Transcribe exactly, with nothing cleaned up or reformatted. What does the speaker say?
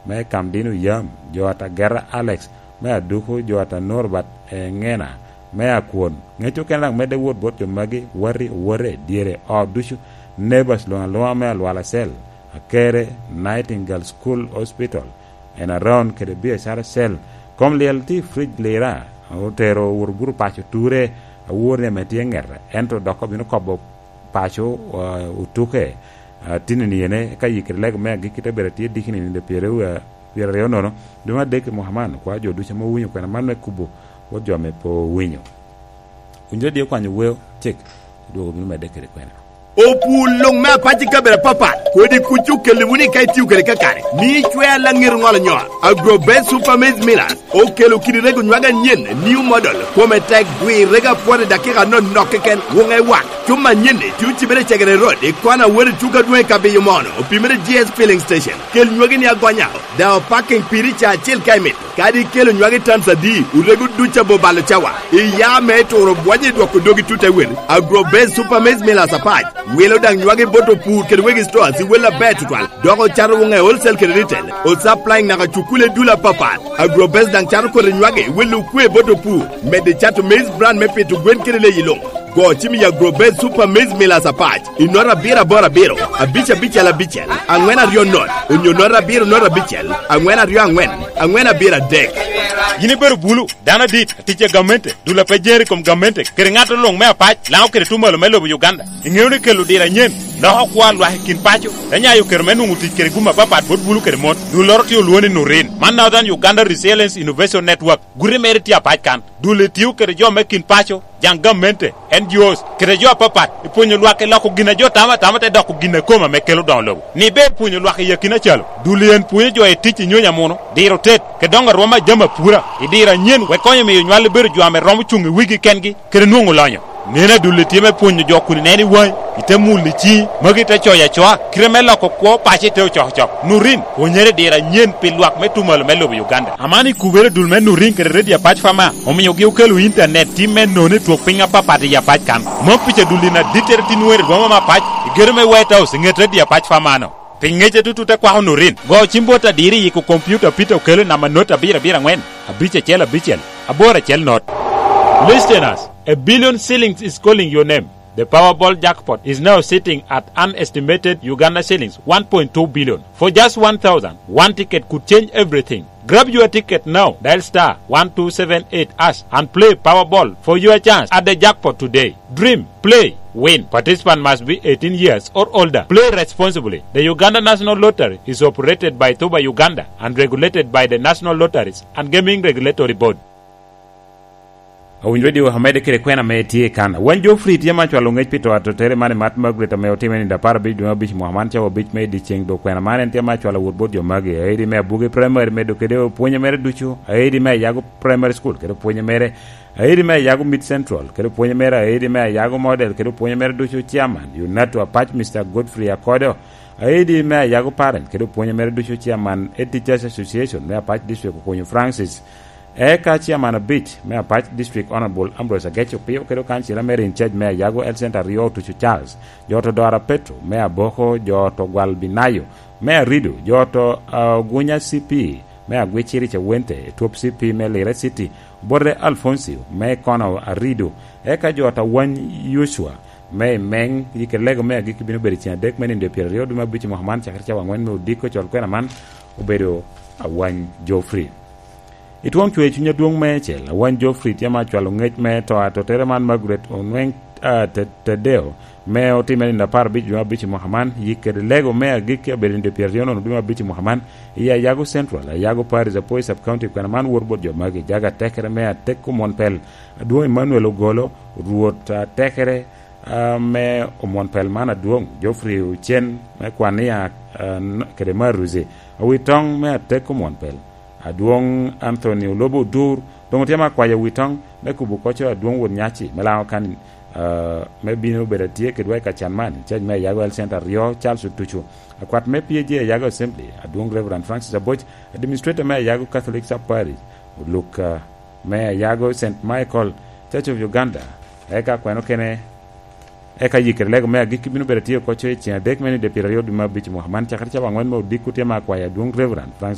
me Kamdino Yam, jo Atagera Alex, me Aduku, jo Ata Norbert Eŋena, me Akwon. Ŋec okene daŋ medde wot bot jo magi, wati, owote, dyere, ot ducu, neighbors luŋ aluŋa me Alwala Cell, Akere, Nightingale School Hospital, en around kede biacara cell. Kom lyel tye i Fridge Lira, otero wot obuto paco ture, awor ni ame tye ŋete, ento dok obino kobo paco, ah, otuke, ah, tinni ni ene, ka yikere lego me agikki te bedo atye dikini ni de pyeraryo, ah, pyeraryo nono, dwe me adek i mwaka man, kwa jo ducu ame owinyo kwena man me kubo, wot jo ame pe owinyo. Winyo di okwanyo weo, cik, dwogo bino medde kede kwena. Opur luŋ me apac i kabedo apapat, kodi kuc okelli wunu i ka itio kede kakare, mi icwe alaŋir ŋolo nyol. Agrobest Super Maize Millers okelo kidi rego nywage anyen, new model, kome tek, gwi rego apwot i dakika anonok keken, wuŋe wak. Cuma anyen-ni tye ocibere i Cegere Road, i kona Awori Tuka Dwoŋ i Kabiyo Mono, opimere G S Filling Station. Kel nywagi ni agonya, daŋ opaking piri ca acel ka imito. Kadi ikelo nywagi tons adi, orego duc abo balo cawa. Iya me turo bwonyo i dwoko dogi tut awel. Agrobest Super Maize Millers apac, wilo daŋ nywagi bot opur kede wegi stores i wel aber tutwal. Dok ocato wuŋe wholesale kede retail. Osupplying naka cukule dul apapat. Agrobest daŋ cato kodi nywagi i wel okwe bot opur. Medde cato maize bran me pito gwen kede leyi luŋ. Go cim i Agrobest Super Maize Millers apac i nota abiro aboro abiro, abic abicel abicel, aŋwen aryo not, onyo nota abiro not abicel, aŋwen aryo aŋwen, aŋwen abiro adek. Yin ibedo bulu, dano adit, atic a gamente, dul a pe jeri i kom gamente, kede ŋat luŋ me apac, Laŋo kede Tumalo me lobo Uganda. Iŋeo ni kelo diro anyen loko kwo a lwak i kin paco, te nyayo kero me nwoŋo tic kede gum apapat bot bulu kede mon. Dulloro tye olwoŋo ni Nurin. Man Northern Uganda Resilience Innovation Network. Guti mere tye apac kan. Dul etio kede jo me kin paco, jaŋ gamente, N G Os, kede jo apapat, i pwonyo lwak i loko gin a jo tamo atama te doko gin a kome ame kelo doŋo lobo. Ni ber pwonyo lwak i akina calo, dul en pwonyo jo i tic i nyonyo amuno, diro tet, kede doŋo arwom a jami apura, i diro anyen, wek konyo miyo nywal bedo jo ame romo cuŋ i wigi kengi, kede nwoŋo lonyo. Neno adul etio me pwonyo jo kun ineno i waŋi, ite mulo i ciŋi, magi te coyo acoa, kite me loko kwo paco ite ocokocok. Nurin, pwonyere diro anyen pi lwak me Tumalo me lobo Uganda. Aman i kubere dul me Nurin kede Redio Apac Fama, omiogi okelo intanet tim me nono i twok piny apapat i Apac kan. Mom pica dul in adittere tin wer i boma me Apac, i gedo me White House, i ŋet Redio Apac Fama-no. Pi ŋece tutu te kwako Nurin, go cim bot adiro i yiko kompiuta Peter Okello namba not abiro abiro aŋwen, abic acel abicel, aboro acel not. Listeners, a billion shillings is calling your name. The Powerball jackpot is now sitting at an estimated Uganda shillings one point two billion. For just one thousand, one ticket could change everything. Grab your ticket now. Dial star one two seven eight hash and play Powerball for your chance at the jackpot today. Dream, play, win. Participant must be eighteen years or older. Play responsibly. The Uganda National Lottery is operated by Tuba Uganda and regulated by the National Lotteries and Gaming Regulatory Board. Owinyo radio amede kede kwena ame tye i kan. Wan Geoffrey tye ma cwalo ŋec pi to atotere man i Mat Margaret ame otime nindo apar abic dwe me abic mwaka man cawa abic me i dyeceŋ dok kwena man en tye ma cwalo wot bot jo magi. Aedi me Abuge Primary medo kede opwonye mere ducu. Aedi me Ayago Primary School kede opwonye mere. Aedi me Ayago Mid Central kede opwonye mere. Aedi me Ayago Model kede opwonye mere ducu. Chairman, Unato Apac, Mister Godfrey Akodo. Aedi me Ayago Parent kede opwonye mere ducu. Chairman, Head Teachers Association me Apac District Okonyo Francis. Eka chairman abic me Apac District Honorable Ambrose Ageco Pio kede okancila mere in charge me Ayago Health Center Rio Tucu Charles, jo to Dora Petro me Aboko, jo to Gwal Binayo me Arido, jo to, ah, Ogunya C P me Agwiciri Cawente, Twop C P me Lira City, Borre Alfoncio me Kono Arido, eka jo to Wany Yocua me Imeng. Yike lego me agikki bino bedo i ceng adek me nindo pyeraryo dwe me abic i mwaka man, cakere cawa angwen me odiko. Col kwena man obedo Awany Geoffrey. I twon cwer cuny adwoŋ me cel, Awany Geoffrey tye ma cwalo ŋec me to atotere man Margaret Onweng, ah, Te-, Tedeo, me otime nindo apar abic dwe me abic i mwaka man. Yik kede lego me agikki abedo nindo pyeraryo nono dwe me abic i mwaka man. I Ayago Central, Ayago Parish, Apoi Sub County, kwena man wot bot jo magi: Jaga Tekere me Atek Omwon Pel, Adwoŋ Emmanuel Ogolo, Rwot, ah, Tekere, ah, me Omwon Pel man Adwoŋ, Geoffrey Ocen me Kwania, ah, n-, kede Maruzi, Awitoŋ me Atek Omwon Pel, Adwoŋ Anthony Olobo Odur, doŋ otye ma kwayo Awitoŋ me kubo koco Adwoŋ Wot Nyaci me Laŋo kan, ah, me bino bedo atye kedwa i kacan man, in charge me Ayago Health Center Rio, Charles Otucu, akwat me P A G Ayago Assembly, Adwoŋ Reverend Francis Aboc, Administrator me Ayago Catholic Sub Parish, Luka me Ayago Saint Michael Church of Uganda, eka kweno kene, eka yikere lego me agikki bino bedo atye oko coc i ceng adek me nindo pyeraryo dwe me abic i mwaka man, cakere cawa angwen me odiko tye ma akwayo Adwoŋ Reverend Francis